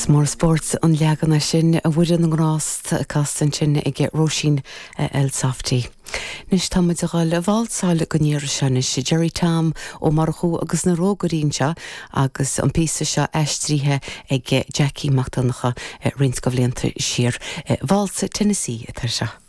Is mór spórt an leagan é sin, a Mhuire na nGrást, casta ansin ag Róisín Elsofty. Anois tá muid a dhul a válsáil don iarraidh seo anois. Gerry Tom Ó Murchú agus na Rógairí anseo agus an píosa seo aistrithe ag Jackie Mac Donncha roinnt de bhlianta siar. Válsa Tennessee atá seo.